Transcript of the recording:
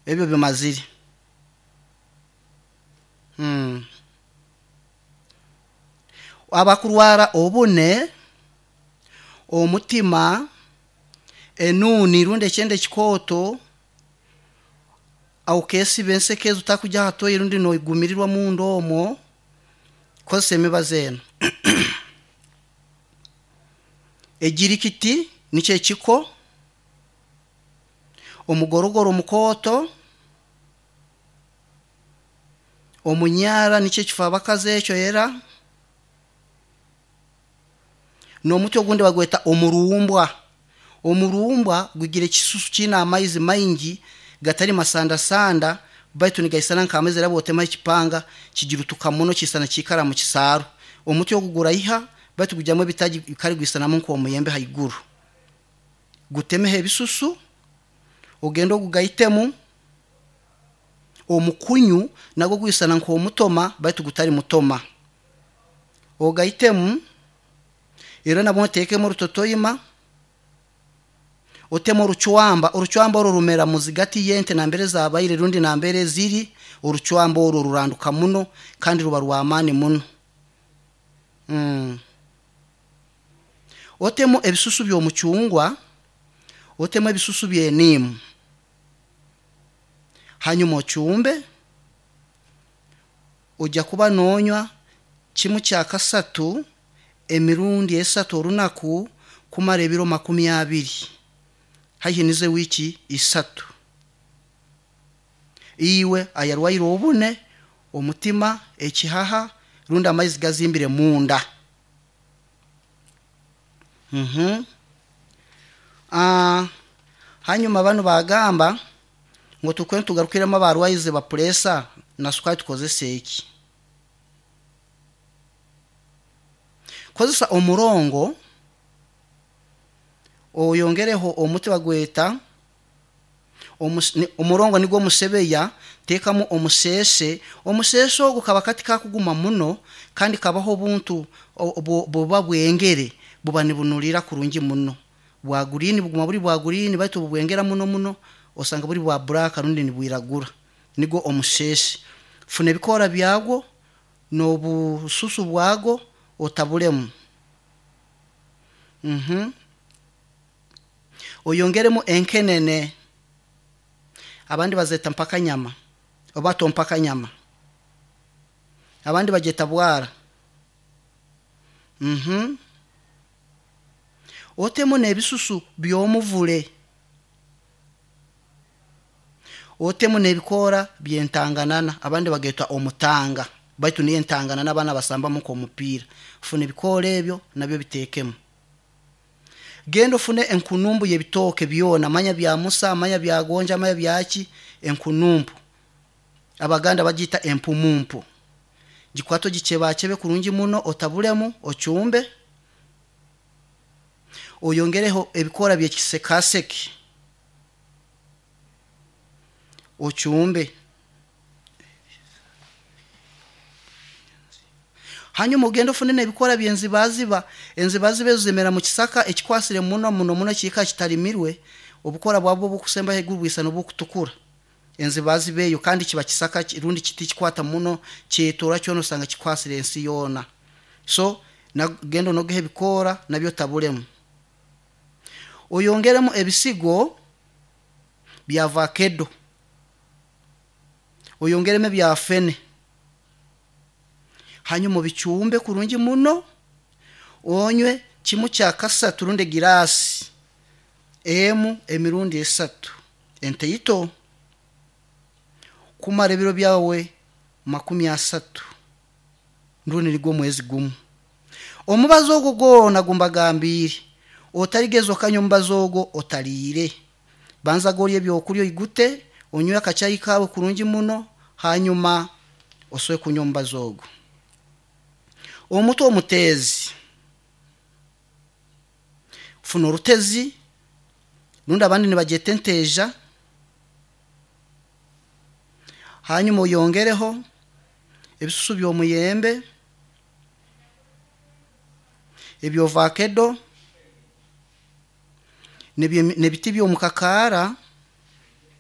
Ebyo bimazire. Mm. Abakurwara obune, omutima, enuuni rundi ekyende ekikooto, okesiba enseke ezi otakugya aha toyi rundi nogumirirwa omunda omwo, kozesa emibazi enu. Egirikiti nikyo ekiko, omugorogoro mukooto, omunyara nikyo ekifabakazi ekyo era, n'omuti ogundi bagweta omurumbwa. Omurumbwa gugira ekisusu kiine amaizi maingi gatari masandasanda baitu nigaisana nk'amaizi era bw'otemaho ekipanga kigirutuka muno kiisana kiikara mu kisaaru. Omuti ogu guraiha baitu gugyamu ebitaagi kare gwisanamu nk'omuyembe haiguru. Gutemeho ebisusu, ogende ogugaitemu omukunyu nagwo gwisana nk'omutoma baitu gutari mutoma. Ogaitemu era nabwo oteekemu orutotoima, otemu orucwamba. Orucwamba oru rumera muzigati y'ente nambere zabaire rundi nambere ziri, orucwamba oru ruranduka muno kandi ruba rw'amaani muno. Mm. Otemu ebisusu by'omucungwa, otemu ebisusu by'eniimu. Hanyuma ocumbe, ojja kuba noonywa kimu kya kasatu emirundi esatu orunaku kumara ebiro 20, haihi nizo wiiki isatu. Iwe ayarwaire obune, omutima, ekihaha rundi amaizi gazimbire munda. Mhm. Ah, hanyuma banu bagamba ngu tukwe tugarukiremu abarwaize ba pureesa na sukari tukozese eki. Kozesa omurongo oyongereho omuti bagweta omurongo nigwo omusebeya, teekamu omuseese. Omuseese ogu kaba kati kakuguma muno kandi kabaho obuntu buba bwengere buba nibunulira kurungi muno. Bwa green buguma buri bwa green baitu obubwengera muno muno osanga buri bwa black rundi nibwiragura. Nigwo omuseese. Funa ebikoora byagwo n'obususu bwagwo otabulemu. Mhm. Oyongeremu enkenene. Abandi bazeta mpakanyama oba tompakanyama. Abandi bagyeta bwara. Mhm. Otemu n'ebisusu by'omuvule. Otemu n'ebikoora by'entanganana abandi bageta omutanga baitu niyo entanganana abaana basambamu nk'omupiira. Funa ebikoora ebyo nabyo biteekemu. Genda ofune enkunumbu y'ebitooke byona manya bya musa, manya bya gonja, manya byaki, enkunumbu. Abaganda bagiita empumumpu. Gikwate ogikyebaakyebe kurungi muno otabulemu, ocumbe, oyongereho ebikoora by'ekisekaseke, ocumbe. Hanyuma ogende ofune n'ebikoora by'enzibaziba. Enzibaziba ezo zimera mu kisaka ekikwasire muno muno muno ekiika kitarimirwe, obukora bwabwo obukusemba haiguru bwisana obukutukura. Enzibaziba eyo kandi kiba kisaka rundi kiti kikwata muno kyetoora kyona osanga kikwasire ensi yoona. So genda onogeho ebikoora nabyo otabulemu. Oyongeremu ebisigo bya vakedo, oyongeremu ebya fene. Hanyuma obicumbe kurungi muno, onywe kimu kya kasatu rundi egiraasi emu emirundi esatu entaito kumara ebiro byawe 30 rundi nigwo omwezi gumu. Omubazi ogwo gwona gumbagambiire, otarigeza okanywa omubazi ogwo otariire. Banza gorye ebyokurya oigute, onywe akachai kawe kurungi muno, hanyuma osobe kunywa omubazi ogwo. Omuti omuteezi, funa orutezi rundi abandi nibagyeta enteeja, hanyuma oyongereho ebisusu by'omuyembe, eby'ovakedo, n'ebiti by'omukakaara.